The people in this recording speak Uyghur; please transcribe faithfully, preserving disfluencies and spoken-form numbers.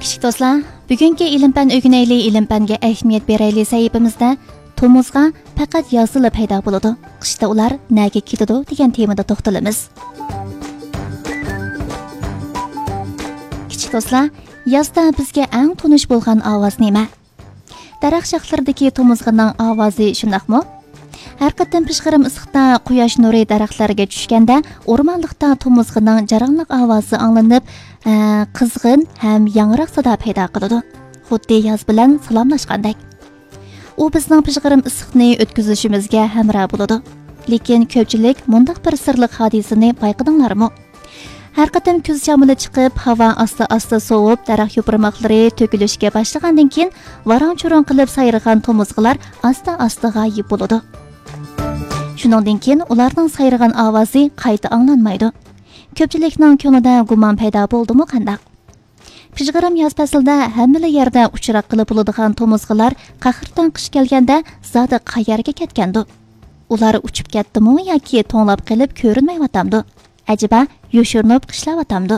كىچىك دوستلار، بۈگۈنكى ئىلىم پەن ئۆگىنەيلى، ئىلىم پەنگە ئەھمىيەت بېرەيلى سەھىپىمىزدە تومۇزغا پەقەت يازدىلا پەيدا بولىدۇ، قىشتا ئۇلار نەگە كېتىدۇ دېگەن تېمىدا توختىلىمىز. كىچىك دوستلار، يازدا بىزگە ئەڭ تونۇش بولغان ئاۋاز نېمە؟ دەرەخ شاخلىرىدىكى تومۇزغىنىڭ ئاۋازى شۇنداقمۇ؟ ھەر قېتىم پىژغىرىم ئىسسىقتا قۇياش نۇرى دەرەخلەرگە چۈشكەندە، ئورمانلىقتا تومۇزغىنىڭ جاراڭلىق ئاۋازى ئاڭلىنىپ، ئە، قىزغىن ھەم ياڭراق سادا پەيدا قىلىدۇ. خۇددى ياز بىلەن سالاملاشقاندەك. ئۇ بىزنىڭ پىژغىرىم ئىسسىقنى ئۆتكۈزۈشىمىزگە ھەمراھ بولىدۇ. لېكىن كۆپچىلىك مۇنداق بىر سىرلىق ھادىسىنى بايقىدىڭلارمۇ؟ ھەر قېتىم كۈز شامىلى چىقىپ، ھاۋا ئاستا-ئاستا سوۋۇپ، دەرەخ يوپۇرماقلىرى تۆكۈلۈشكە باشلىغاندىن كېيىن، ۋاراڭ-چۇرۇڭ قىلىپ سايرىغان تومۇزغىلار ئاستا-ئاستا غايىب بولىدۇ. شۇنىڭدىن كېيىن ئۇلارنىڭ سايرىغان ئاۋازى قايتا ئاڭلانمايدۇ. كۆپچىلىكنىڭ كۆڭلىدە گۇمان پەيدا بولدىمۇ قانداق؟ پىژغىرىم ياز پەسلىدە ھەممىلا يەردە ئۇچراققىلى بولىدىغان تومۇزغىلار قەھرىتان قىش كەلگەندە زادى قەيەرگە كەتكەندۇ؟ ئۇلار ئۇچۇپ كەتتىمۇ ياكى توڭلاپ قېلىپ كۆرۈنمەيۋاتامدۇ؟ ئەجەبا يوشۇرۇنۇپ قىشلاۋاتامدۇ؟